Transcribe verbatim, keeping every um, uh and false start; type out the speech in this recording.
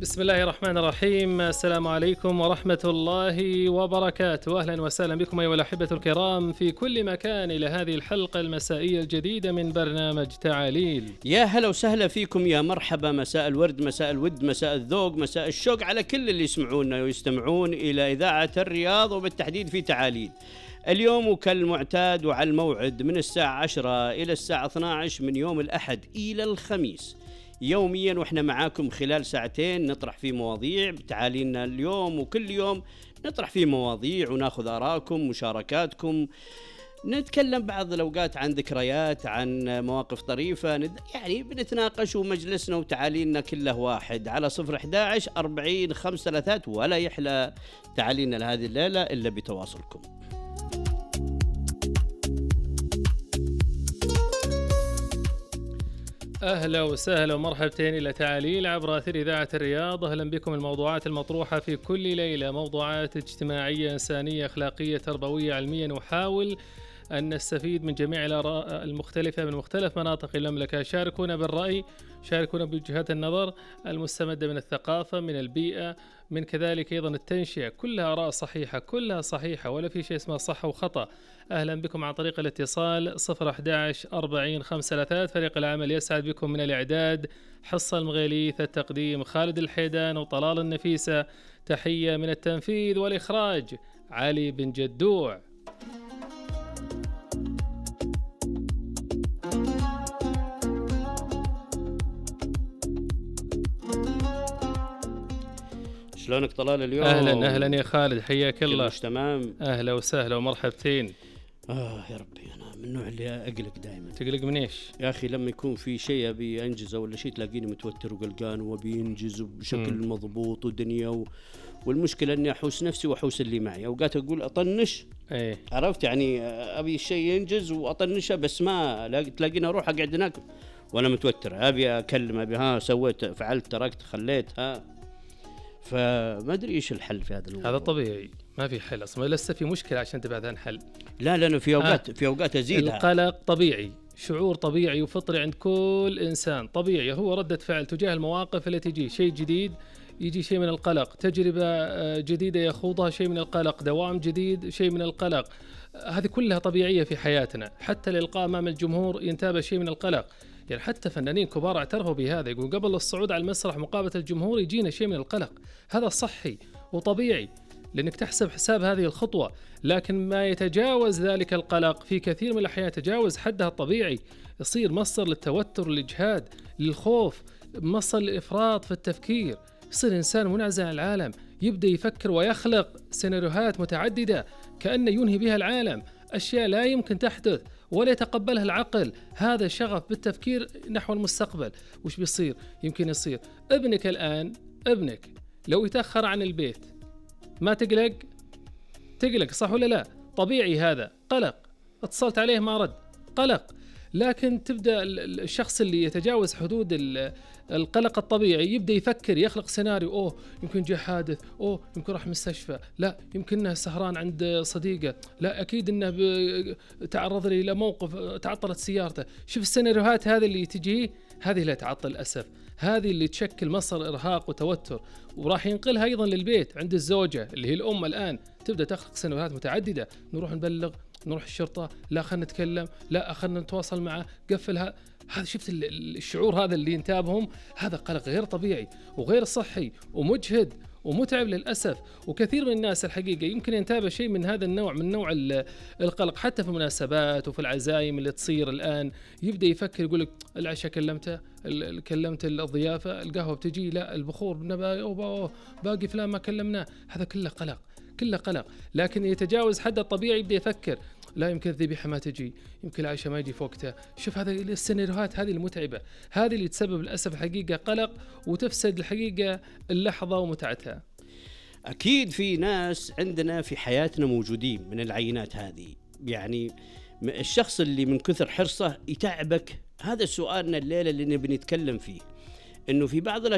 بسم الله الرحمن الرحيم. السلام عليكم ورحمة الله وبركاته. أهلا وسهلا بكم أيها الأحبة الكرام في كل مكان إلى هذه الحلقة المسائية الجديدة من برنامج تعاليل. يا هلا وسهلا فيكم، يا مرحبا، مساء الورد، مساء الود، مساء الذوق، مساء الشوق على كل اللي يسمعونا ويستمعون إلى إذاعة الرياض وبالتحديد في تعاليل. اليوم وكالمعتاد وعلى الموعد من الساعة عشرة إلى الساعة اثنا عشر من يوم الأحد إلى الخميس يوميا، وإحنا معاكم خلال ساعتين نطرح فيه مواضيع بتعاليلنا اليوم، وكل يوم نطرح فيه مواضيع وناخذ آراءكم مشاركاتكم، نتكلم بعض الأوقات عن ذكريات، عن مواقف طريفة، يعني بنتناقش، ومجلسنا وتعاليلنا كله واحد على صفر أحد عشر أربعين خمسة ثلاثات. ولا يحلى تعاليلنا لهذه الليلة إلا بتواصلكم. أهلا وسهلا ومرحبتين إلى تعاليل عبر أثير إذاعة الرياض. أهلا بكم. الموضوعات المطروحة في كل ليلة موضوعات اجتماعية إنسانية أخلاقية تربوية علمية، نحاول أن نستفيد من جميع الآراء المختلفة من مختلف مناطق المملكة. شاركونا بالرأي، شاركونا بوجهات النظر المستمدة من الثقافة، من البيئة، من كذلك أيضا التنشئة. كلها آراء صحيحة، كلها صحيحة، ولا في شيء اسمه صح وخطأ. أهلا بكم عن طريق الاتصال صفر أحد عشر أربعين خمسة ثلاثات. فريق العمل يسعد بكم من الإعداد حصة المغيليث، التقديم خالد الحيدان وطلال النفيسة، تحية من التنفيذ والإخراج علي بن جدوع. شلونك طلال اليوم؟ أهلا أهلا يا خالد، حياك الله. مش تمام؟ أهلا وسهلا ومرحبتين. آه يا ربي، أنا من النوع اللي أقلق دائما. تقلق من إيش؟ يا أخي لما يكون في شيء أبي أنجزه ولا شيء تلاقيني متوتر وقلقان وبينجز بشكل م. مضبوط ودنيا و... والمشكلة أني أحوس نفسي وأحوس اللي معي. أوقات أقول أطنش، ايه عرفت يعني، أبي الشيء ينجز وأطنشه، بس ما تلاقيني أروح أقعد هناك وأنا متوتر، أبي أكلم، أبي ها سويت فعلت تركت خليت ها، فما أدري إيش الحل في هذا الموضوع. هذا طبيعي، ما في حل أصلا، لسه في مشكلة عشان تبحث عن حل. لا لأنه في أوقات آه. في أوقات أزيدها. القلق طبيعي، شعور طبيعي وفطري عند كل إنسان، طبيعي، هو ردة فعل تجاه المواقف اللي تجي. شيء جديد يجي شيء من القلق، تجربة جديدة يخوضها شيء من القلق، دوام جديد شيء من القلق. هذه كلها طبيعية في حياتنا. حتى الإلقاء أمام الجمهور ينتابه شيء من القلق، يعني حتى فنانين كبار اعترفوا بهذا، يقول قبل الصعود على المسرح مقابلة الجمهور يجينا شيء من القلق. هذا صحي وطبيعي لأنك تحسب حساب هذه الخطوة، لكن ما يتجاوز ذلك القلق في كثير من الأحيان يتجاوز حدها الطبيعي، يصير مصدر للتوتر، للإجهاد، للخوف، مصدر للإفراط في التفكير، يصير إنسان منعزل عن العالم، يبدأ يفكر ويخلق سيناريوهات متعددة كأنه ينهي بها العالم، أشياء لا يمكن تحدث ولا يتقبلها العقل. هذا شغف بالتفكير نحو المستقبل. وش بيصير؟ يمكن يصير ابنك الآن، ابنك لو يتأخر عن البيت ما تقلق؟ تقلق صح ولا لا؟ طبيعي، هذا قلق. اتصلت عليه ما رد، قلق. لكن تبدأ الشخص اللي يتجاوز حدود القلق الطبيعي يبدأ يفكر، يخلق سيناريو، أوه يمكن جاء حادث، أوه يمكن راح مستشفى، لا يمكن انه سهران عند صديقه، لا أكيد انه تعرض لي إلى موقف تعطلت سيارته. شوف السيناريوهات هذه اللي تجي، هذه لا تعطل للأسف، هذه اللي تشكل مصدر إرهاق وتوتر، وراح ينقلها أيضا للبيت عند الزوجة اللي هي الأم. الآن تبدأ تخلق سيناريوهات متعددة، نروح نبلغ، نروح الشرطة، لا خلنا نتكلم، لا خلنا نتواصل معه، قفلها. هذا شفت الشعور هذا اللي ينتابهم، هذا قلق غير طبيعي وغير صحي ومجهد ومتعب للأسف. وكثير من الناس الحقيقة يمكن ينتابه شيء من هذا النوع، من نوع القلق، حتى في المناسبات وفي العزايم اللي تصير الآن. يبدأ يفكر، يقولك العشاء كلمته، كلمت الضيافة، القهوة بتجي، لا البخور باقي فلان ما كلمناه. هذا كله قلق، كله قلق. لكن يتجاوز حد الطبيعي، يبدأ يفكر لا يمكن الذبيحة ما تجي، يمكن العشاء ما يجي في وقتها. شوف هذه السيناريوهات هذه المتعبة، هذه اللي تسبب للأسف الحقيقة قلق وتفسد الحقيقة اللحظة ومتعتها. أكيد في ناس عندنا في حياتنا موجودين من العينات هذه، يعني الشخص اللي من كثر حرصه يتعبك. هذا سؤالنا الليلة اللي نبي نتكلم فيه، إنه في بعض